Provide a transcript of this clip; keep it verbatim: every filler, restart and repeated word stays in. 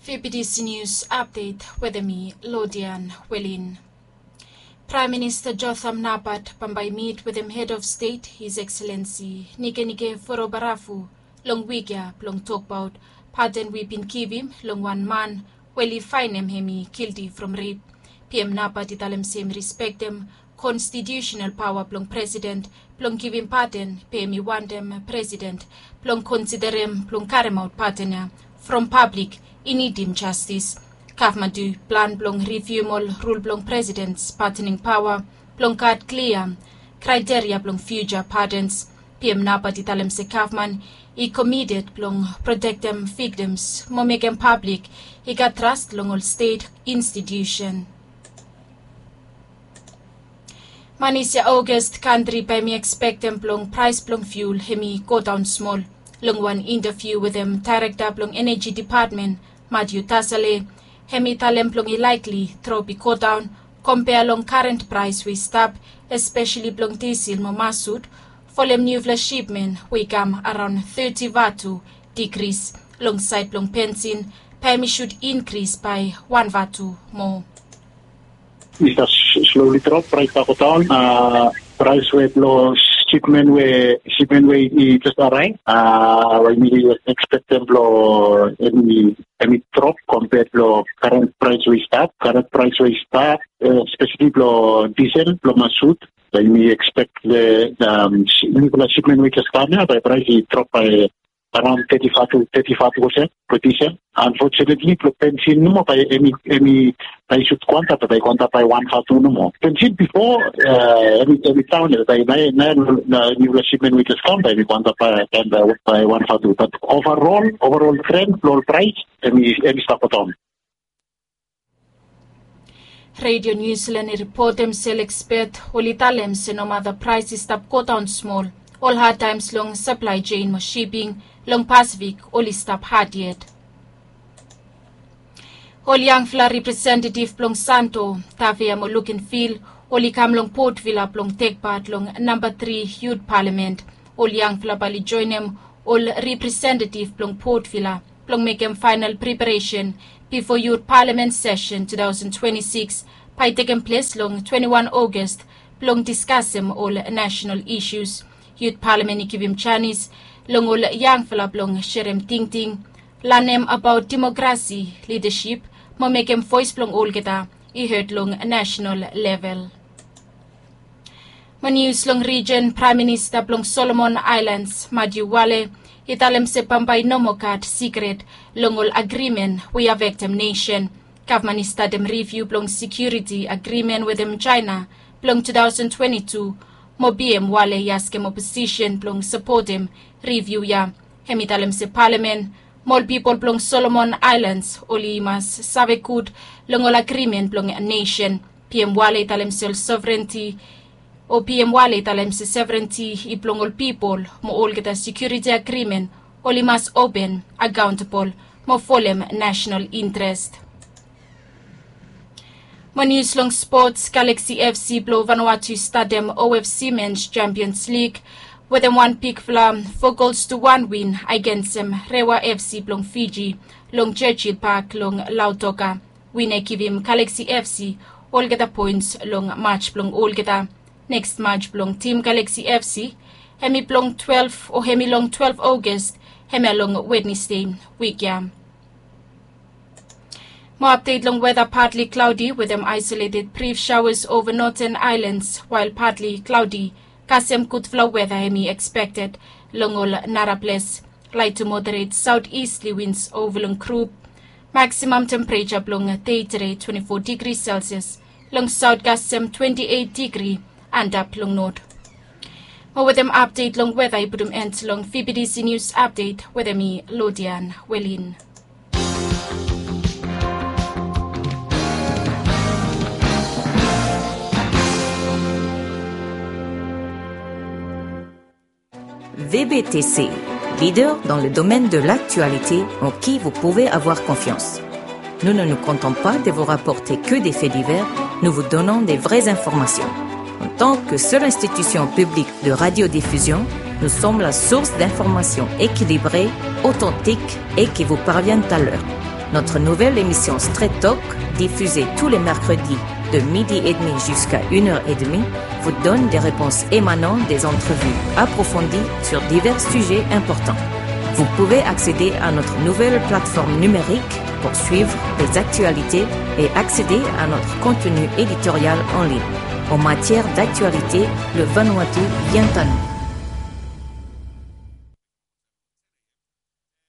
Fibidisi nius apdet wetem mi, Lodian Welin. Praem Minista Jotham Napat bambae i mit wetem hed of stet, His Excellency Nikenike Vurobaravu, long wik ya blong tokbaot paden we i bin givim long wan man we oli faenem hem i gilti from rep. Pihem Napat i talem se hem i respektem konstitiusenal paoa blong presiden blong givim paden, be hem i wantem presiden blong konsiderem blong karemaot paden ya from pablik i nidim jastis. Gavman tu i plan blong rivium ol rul blong presidens padening paoa blong gat klia kraeteria blong fiuja padens. Pihem Napat i talem se gavman i komited blong protektem viktims mo mekem pablik i gat tras long ol stet institiusen. Manis ya Ogast kantri bae hem i ekspektem blong praes blong fiul hem i godaon smol. Long wan intaviu wetem daerekta blong eneji depatmen, Matiu Tasale, hem i talem blong i laekli drop i godaon kompea long karen praes we i stap, espeseli blong disil mo masut, folem niufala sipmen we i kam araon teti vatu digris. Long saed blong bensin bae hem i sud inkris bae wan vatu moa. I stap sloli drop, praes i stap godaon. Praes we blong sipmen we, sipmen we i jes araev, we yumi ekspektem blong hem i drop kompea blong karen praes we i stap, karen praes we i stap, espeseli blong disil, blong masut. Bae yumi ekspek niufala sipmen we i jes kam ya bae praes i drop bae araon teti vatu, teti vatu olsem blong disil. Anfotunetli blong bensin nomo bae hem i, hem i bae i sud go antap, bae i go antap bae wan vatu nomo. Bensin bifo hem i, hem i daon ya, bae naoia niufala sipmen we i jes kam bae hem i go antap bae, bae wan vatu. Bat ovarol, ovarol tren blong ol praes hem i, hem i stap godaon. Redio Niu Silan i ripotem se ol ekspet oli talem se nomata praes i stap godaon smol, ol hadtaems long saplae jein mo siping long Pasifik oli stap had yet. Ol yangfala representetiv blong Santo, Tavea mo Lukenvil oli kam long Port Vila blong tekpat long namba tri yut palamen. Ol yangfala bae oli joenem ol representetiv blong Port Vila blong mekem faenal preparesen bifo yut palamen sesen tu taosen twenti sikis bae i tekem ples long twenti wan Ogast blong diskasem ol nasenal isus. Yut palamen i givim janis long ol yangfala blong serem tingting, lanem abaot demokrasi, lidasip mo mekem voes blong olgeta i hed long nasenal level. Mo nius long rijen, Praem Minista blong Solomon Aelans, Matiu Wale, i talem se bambae i no moa gat sikret long ol agrimen we i afektem nesen. Gavman i statem riviu blong sekiuriti agrimen wetem Jaena blong tu taosen twenti tu, mo Pihem Wale i askem oposisen blong sapotem riviu ya. Hem i talem se palamen mo ol pipol blong Solomon Aelans oli mas save gud long ol agrimen blong nesen. Pihem Wale i talem se ol sovrenti, o Pihem Wale i talem se sovrenti i blong ol pipol, mo olgeta sekiuriti agrimen oli mas open, akaontebol mo folem nasenal intrest. Mo nius long spots, Galaxy FC blong Vanuatu i statem OFC Mens Champions League wetem wan bigfala fo gols tu wan win agensem Rewa FC blong Fiji long Churchill Park long Lautoka. Win ya i givim Galaxy FC olgeta poens long maj blong olgeta. Neks maj blong tim Galaxy FC hem i blong twelef, o hem i long twelef Ogast, hemia long Wednesde wik ya. Mo apdet long weta, partly cloudy wetem isolated brief showers over northern islands, while partly cloudy, kasem gudfala weta hem i ekspekted long ol nara ples. Light to moderate southeasterly winds over long group. Maximum temperature blong dei tede twenti fo digri Celsius, long south kasem twenti eit digri, antap long north. Mo wetem apdet long weta i putum end long V B T C News Update wetem mi, Lodian Welin. V B T C, leader dans le domaine de l'actualité en qui vous pouvez avoir confiance. Nous ne nous contentons pas de vous rapporter que des faits divers, nous vous donnons des vraies informations. En tant que seule institution publique de radiodiffusion, nous sommes la source d'informations équilibrées, authentiques et qui vous parviennent à l'heure. Notre nouvelle émission Straight Talk, diffusée tous les mercredis de midi et demi jusqu'à une heure et demie, vous donne des réponses émanant des entrevues approfondies sur divers sujets importants. Vous pouvez accéder à notre nouvelle plateforme numérique pour suivre les actualités et accéder à notre contenu éditorial en ligne. En matière d'actualité, le Vanuatu vient à nous.